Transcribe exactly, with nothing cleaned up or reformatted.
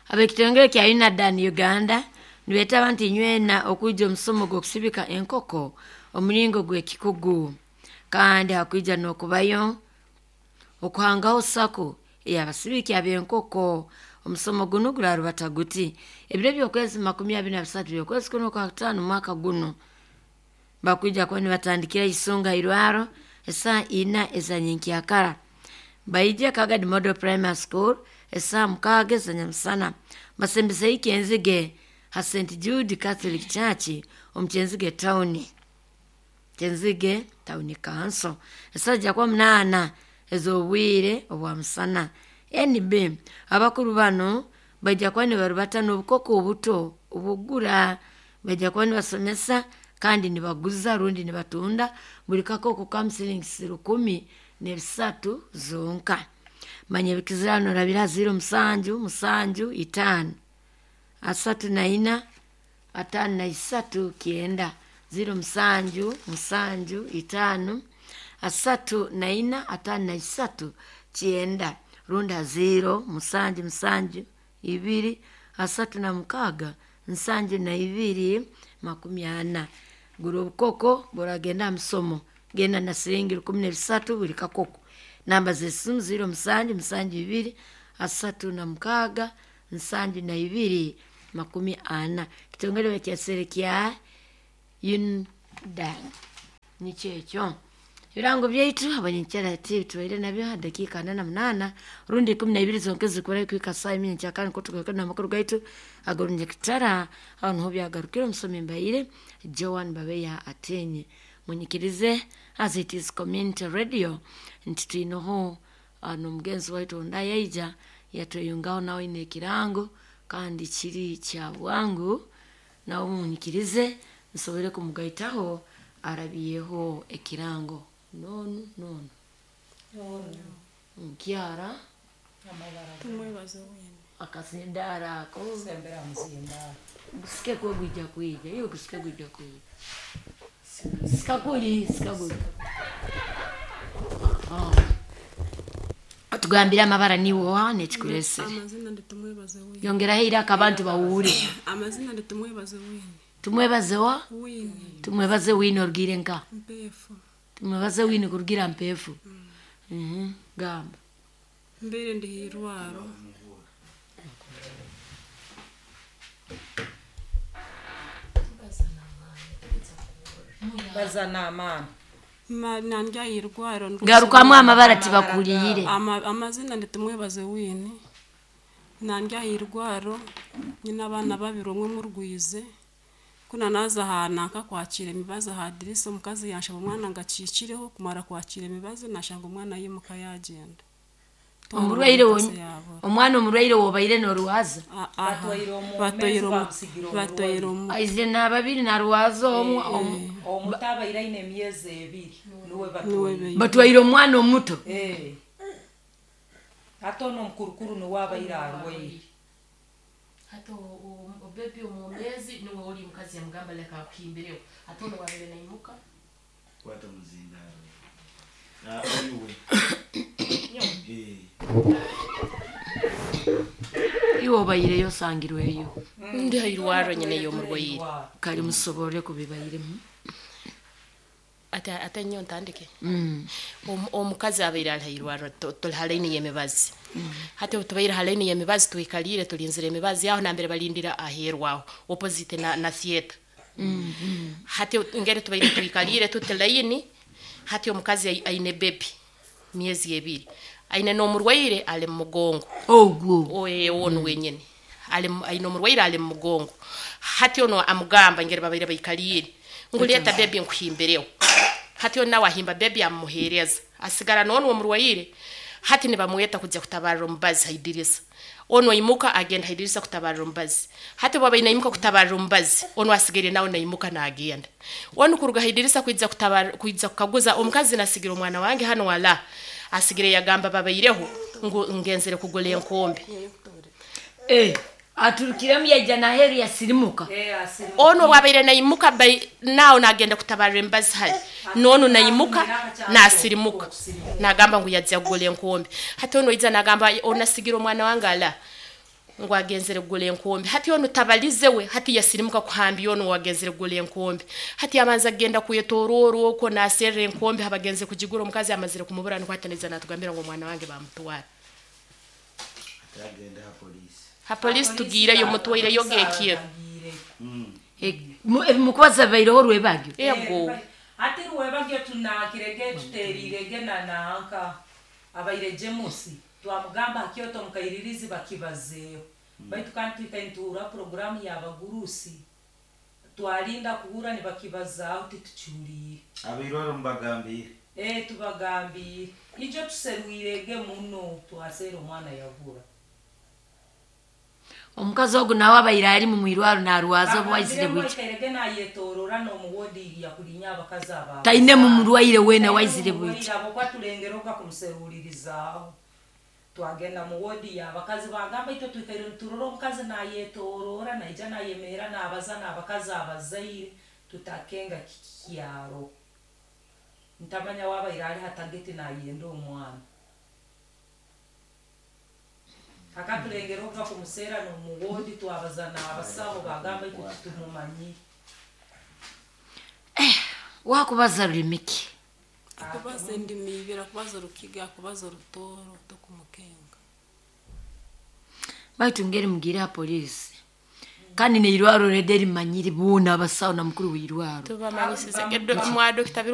Ab'ekitongole kya UNADAN Uganda nibeetaba nti nywena okwija omusomo gw'okusibika enkoko omuringo gw'ekikugu, kandi hakwija n'okubayo okuhangaho sako ey'abasibiki ab'enkoko. Omusomo gunu gurarubata guti ebiro by'okwezi makumi abiri na bisatu by'okwezi kuno kwa kutaano mwaka guno, bakwija kuba nibatandikira isunga irwaro esaa ina ezanyenkyakara, baije Kagadi Model Primary School esaa mukaaga ezanyamusana, basembese Kyenzige ha Saint Jude Catholic Church omu Kyenzige Town, Kyenzige Town Council, esaa ja kuba munaana ez'obwire obwa musana. N B abakuru bano baija kuba nibarubata n'obukoko obuto obugura, baija kuba nibasomesa kandi nibaguza rundi nibatunda buli kakoko kamu siringi rukumi n'ebisatu zonka. Manya ebikizirano orabira ziro musanju musanju itaano asatu na ina ataano na isatu kyenda, ziro musanju musanju itaano asatu na ina ataano na isatu kyenda, runda ziro musanju musanju ibiri asatu na mukaaga nsanju na ibiri makumi ana. Gura obukoko buragenda aha musomo, genda na siringi rukumi n'ebisatu buli kakoko. Namba z'esimu ziro musanju musanju ibiri asatu na mukaaga nsanju na ibiri makumi ana. Kitongole bakyesere kya UNDAN nikyo ekyo. Ebirango byaitu abanyenkyara ati tubaire nabyo ha dakiika ana na munaana rundi ikumi na ibiri zonka ezikurayo kuhika saa imi nyenkyakara, nikwo tugaruka n'amakuru gaitu ag'orunyakitara. Aho niho byagarukire. Omusomi mbaire Joan Babeya Atenye. Munyikirize, as it is community radio, nti twineho n'omugenzi waitu ondi yaija yatweyungaho, nawe aine ekirango kandi kiri kya bwangu. Nawe munyikirize nsobole kumugaitaho arabyeho ekirango. Nonu nonu nkyara. Tumwebaze wene. Akasindara ako. Sembera muzindaro. Gusike kwe gwija kwija iyo gusike gwija kwija sikakuli sikaguli. Tugambire amabara niwo n'ekikuresere. Amazina ndi Tumwebaze Wine. Yongeraho iraka abantu bawure. Amazina ndi Tumwebaze Wine. Tumwebaze wa? Wine. Tumwebaze Wine, orugire nka? Mpefu. Tumwebaze Wine kurugira Mpefu. Mhm, gamba. Mbere ndi hirwaro. Bazana amaani. Ma- nandya hirwaro. Garukamu amabara tibakuliyire. Ama, amazina ndi Tumwebaze Wine. Nandya hirwaro nyina abaana babiri, omwe murwize. Kuna naza aha nanka kwakira emibazi aha dirisa, omukazi yanshaba omwana ngo akikireho. Kumara kwakira emibazi nashanga omwana yimuka yagenda. Omurwaire Omukazi wonyi- yabura. Omwana omurwaire wobaire n'orwaza? A- aha. Batwaire omu- Batwaire mezi omu- bamusigira batwaire omu Aizire n'ababiri narwaza omwe omu- omuto abaire aine emyezi ebiri niwe niwe batwaire. be- Batwaire omwana omuto? Eh. Ate ono omukurukuru niwe abaire arwaire. Hata obebi omwomezi niwe oli omukazi yamugamba leka akuhimbireho, ate ono wabeere naimuka. Kwata muzindaro. Ah, oyiwe. Eh. Iwe obaireyo osangirweyo? Ndi hairwaro nyine y'omurwaire. Kali musobole kubibairemu. Ate ate nnyo ntandike. Mm. Omu- omukazi abaire ali hairwaro, tuli ha layini y'emibazi. Hati obu tubaire ha layini y'emibazi twikalire tulinzire emibazi aho nambere balindira aheeru aho opposite na, na theatre. Hati ngeri tubaire twikalire tuti layini, hati omukazi ai- aine bebi myezi ebiri, aine n'omurwaire ali mu mugongo. Ogwo? Oye, ono wenyini ali mu- aine omurwaire ali mu mugongo. Hati ono amugamba ngeri babaire baikaliire ngu leeta bebi nkuhimbireho. Hati ono nawe ahimba bebi amuhereza, asigara nono omurwaire. Hati nibamweta kujya kutabarira omubazi haidirisa. Ono aimuka agenda haidirisa kutabarira omubazi. Hati bwaba naimuka kutabarira omubazi, ono asigaire nawe naimuka nagenda. Ono kuruga haidirisa kwijja kutabarira, kwijja kukaguza omukazi, nasigira omwana wange hano wala asigire yagamba babaireho ngu ngenzere kugula enkombe. Eh, aturukiremu yaija naheru yasirimuka? Ono bwabaire naimuka bai- nawe nagenda kutabarira emibazi hali nono naimuka nasirimuka nagamba ngu yajja kugula enkombe. Hati ono ija nagamba onasigira omwana wange ala. Ngu agenzere kugura enkombe. Hati onu tabalize we, hati yasirimuka kuhambya onu wagenzere kugura enkombe. Hati abanza kugenda kwetorora okwo naserra enkombe habagenze kugigura, omukazi amazire kumubura, nukwo hati naiza natugambira ngu omwana wange bamutwara. Atagenda ha polisi. Ha polisi tugiireyo, mutwaireyo gekiro. Mukubaza baireho rwebagyo. Ego. Ati rwebagyo tunakirege tuterirege na nanka abaire Jemusi twamugamba hakyoto mukairirizi bakibazeeho, baitu kandi twikaire nituhurra poroguramu y'abagurusi, twalinda kuhurra nibakibazaaho, titukihuliire. Abairwaro mubagambiire? Eh, tubagambiire ijo tuserwirege muno, twaseera omwana yabura. Omukazi ogu nawe abaire ari mu mwirwaro narwaza obu waizire bwiki? Aikairege nayetorora n'omuwodi yakulinya abakazi aba. Taine mu murwaire weena waizire bwiki? Abo kwatulengeroga kumuserulirizaaho, twagenda mu wodi y'abakazi, bagamba itwe twikaire niturora omukazi nayetorora, naija nayemeera nabaza n'abakazi abazaire, tutakenga kikyaro, ntamanya wabaire ali hatageti nayenda omwana, akatulengera kumuseera n'omuwodi, twabaza n'abasaho, bagamba itwe titumumanyire. Wakubaza rulimi ki? Akubaza endimi ibiri, akubaza orukiga, akubaza orutooro, tokumukenga. Baitu ngeri mugire ha polisi, kandi neirwaro rede rimanyire boona abasawo na mukuru w'irwaro. Tubamanyisize mwa dokita.